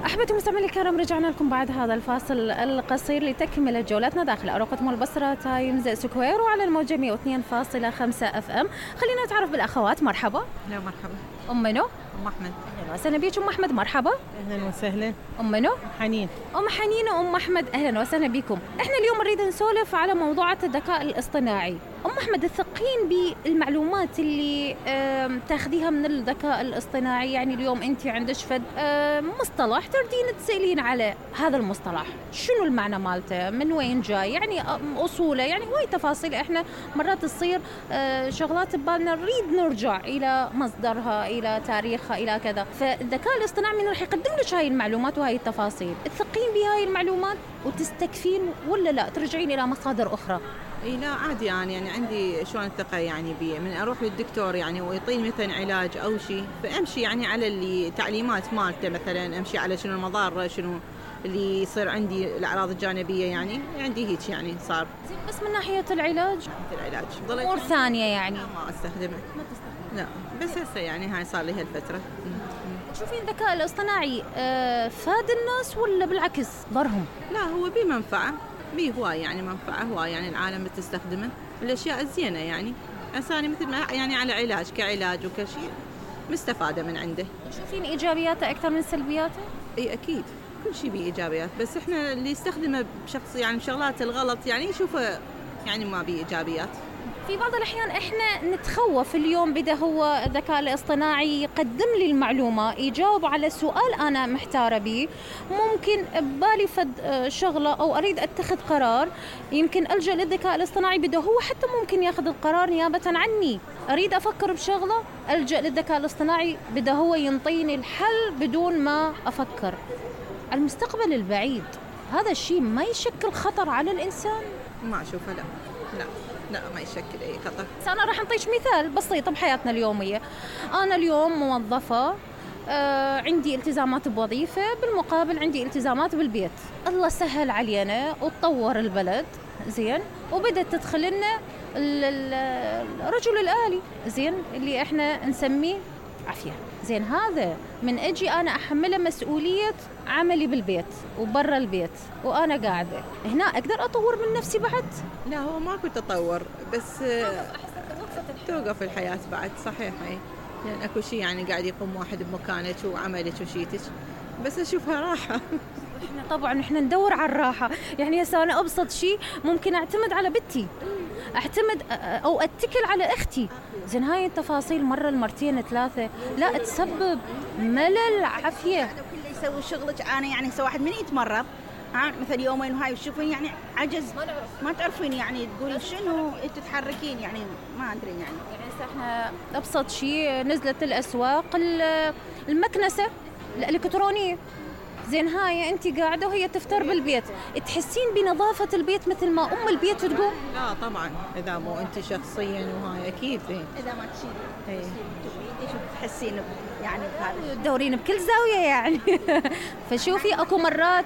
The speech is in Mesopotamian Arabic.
أحبتي مستمعينا الكرام، رجعنا لكم بعد هذا الفاصل القصير لتكملة جولتنا داخل أروقة مول بصرة تايمز سكوير وعلى الموجة 102.5 اف ام. خلينا نتعرف بالأخوات. مرحبا. لا مرحبا. أم منو؟ أم أحمد. أهلا وسهلا بيك أم أحمد. مرحبا. أهلا وسهلا. أم منو؟ حنين. أم حنين وأم أحمد أهلا وسهلا بكم. إحنا اليوم نريد نسولف على موضوعات الذكاء الاصطناعي. أم أحمد، تثقين بالمعلومات اللي تاخذيها من الذكاء الاصطناعي؟ يعني اليوم أنت عندك فد مصطلح تردين تسألين على هذا المصطلح، شنو المعنى مالته؟ من وين جاي؟ يعني أصوله، يعني هواي تفاصيل إحنا مرات تصير شغلات ببالنا نريد نرجع إلى مصدرها، إلى تاريخها، إلى كذا. فالذكاء الاصطناعي من راح يقدم لك هاي المعلومات وهاي التفاصيل، تثقين بهاي المعلومات وتستكفين ولا لا ترجعين إلى مصادر أخرى؟ اي لا عادي، يعني عندي شلون الثقة يعني بيه، من اروح للدكتور يعني ويعطيني مثلا علاج او شيء، فامشي يعني على اللي تعليمات مالته، مثلا امشي على شنو المضار، شنو اللي يصير عندي الاعراض الجانبية، يعني عندي هيك يعني صار. بس من ناحية العلاج امور ثانية يعني ما استخدمه. لا بس هسه يعني هاي صار لي هالفترة. تشوفين الذكاء الاصطناعي فاد الناس ولا بالعكس ضرهم؟ لا هو بيه منفعة، بيه هواي يعني منفعة هواي، يعني العالم بتستخدمه الأشياء الزينة، يعني إنساني مثل ما يعني على علاج كعلاج وكشيء مستفادة من عنده. تشوفين إيجابياته أكثر من سلبياته؟ أي أكيد كل شيء بيه إيجابيات، بس إحنا اللي يستخدمه بشخص يعني شغلات الغلط يعني يشوفه يعني ما بيه إيجابيات. في بعض الأحيان إحنا نتخوف اليوم بدأ هو الذكاء الاصطناعي يقدم لي المعلومة، يجاوب على سؤال أنا محتارة به، ممكن ببالي فد شغلة أو أريد أتخذ قرار، يمكن ألجأ للذكاء الاصطناعي بدأ هو حتى ممكن ياخذ القرار نيابة عني. أريد أفكر بشغلة ألجأ للذكاء الاصطناعي بدأ هو ينطيني الحل بدون ما أفكر. المستقبل البعيد هذا الشيء ما يشكل خطر على الإنسان؟ ما أشوفه. لا ما يشكل أي خطر. أنا راح أعطيك مثال بسيط بحياتنا اليومية. أنا اليوم موظفة، عندي التزامات بوظيفة، بالمقابل عندي التزامات بالبيت. الله سهل علينا وتطور البلد زين، وبدأت تدخل لنا الرجل الآلي زين اللي احنا نسميه عافية زين. هذا من أجي أنا أحمله مسؤولية عملي بالبيت وبرا البيت وأنا قاعدة هنا، أقدر أطور من نفسي بعد؟ لا هو ماكو تطور، بس توقف الحياة بعد. صحيح هي يعني اكو شيء يعني قاعد يقوم واحد بمكانك وعملك وشيتك، بس اشوفها راحة. احنا طبعا احنا ندور على الراحة. يعني هسه انا ابسط شيء ممكن اعتمد على بنتي، اعتمد او اتكل على اختي زين. هاي التفاصيل مرة المرتين ثلاثة لا تسبب ملل عافية. كله يسوي شغلك، انا يعني سو واحد من يتمرض مثل يومين وهاي وتشوفين يعني عجز، ما تعرفين يعني تقولي شنو تتحركين، يعني ما ادري يعني احنا ابسط شيء نزلت الاسواق المكنسة الالكترونية زين. هاي انت قاعده وهي تفتر بالبيت، تحسين بنظافه البيت مثل ما ام البيت تقول؟ لا طبعا اذا مو انت شخصيا وهاي اكيد اذا ما تشيلي ايش تحسين يعني بهذا تدورين بكل زاويه يعني. فشوفي اكو مرات